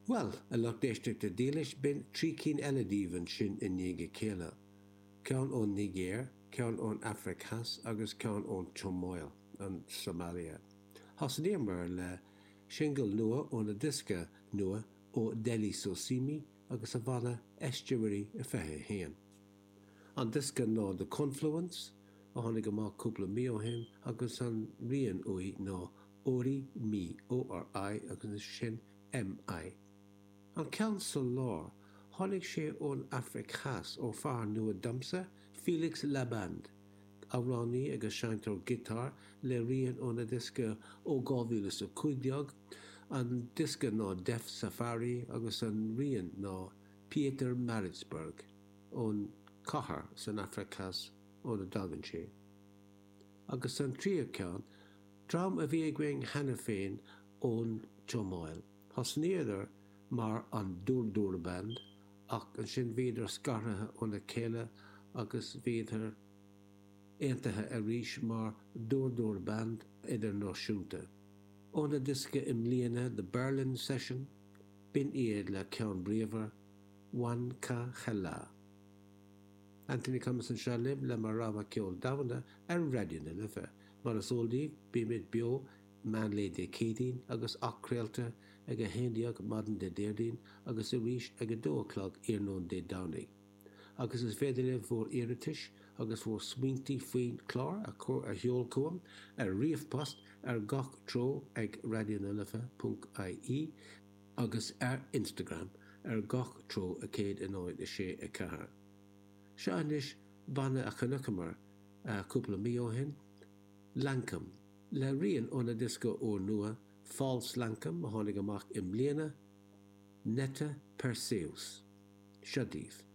Bhuel, a lucht éisteachta dílis, b'in 3 cinn eile daoibh ansin i ndiaidh a chéile, ceann ón Nigéir, ceann ón Afraic Theas agus ceann ón tSomáil, an tSomalia. Thosnaíomar le singil nua óna diosca nua ó Dele Sosimi agus a bhanna Estuary 21. An diosca ná The Confluence, a tháinig amach cúpla mí ó shin agus an rian uaidh ná Ori Mi, O-R-I agus ansin M-I. An ceann sa lár, tháinig sé ón Afraic Theas, ó fear nua domsa, Felix Laband, amhránaí agus seinnteoir giotáir, le rian óna diosca ó 2015, an diosca ná Deaf Safari agus an rian ná Pietermaritzburg, ón cathair san Afraic Theas óna dtagann sé. Agus an tríú ceann, dream a bhí againn cheana féin ón tSomáil. Thosnaíodar mar an Dur Dur Band ach ansin bhíodar scartha óna chéile agus bhíodar aontaithe arís mar Dur Dur Band Idirnáisiúnta. Óna diosca i mbliana The Berlin Session, b'in iad le ceann bríomhar, Wan Ka Hela. Anthony Cummins anseo libh le mo rogha ceol domhanda ar Raidió na Life. Mar is eol daoibh, bímid beo meánlae Dé Céadaoin agus athchraolta ag 11 maidin Dé Déardaoin agus arís ag 2 a chlog iarnóin Dé Domhnaigh. Agus is féidir libh bhur iarratais agus bhur smaointí faoin chlár a chur a sheol chugam ar ríomhphost ar gach treo ag raidionalife.ie agus ar Instagram ar gach treo 106 4. Seo anois banna a chonaiceamar cúpla mí ó shin, Lankum. Le rian óna diosca úrnua, False Lankum, a tháinig amach i mbliana, Netta Perseus. Seo daoibh.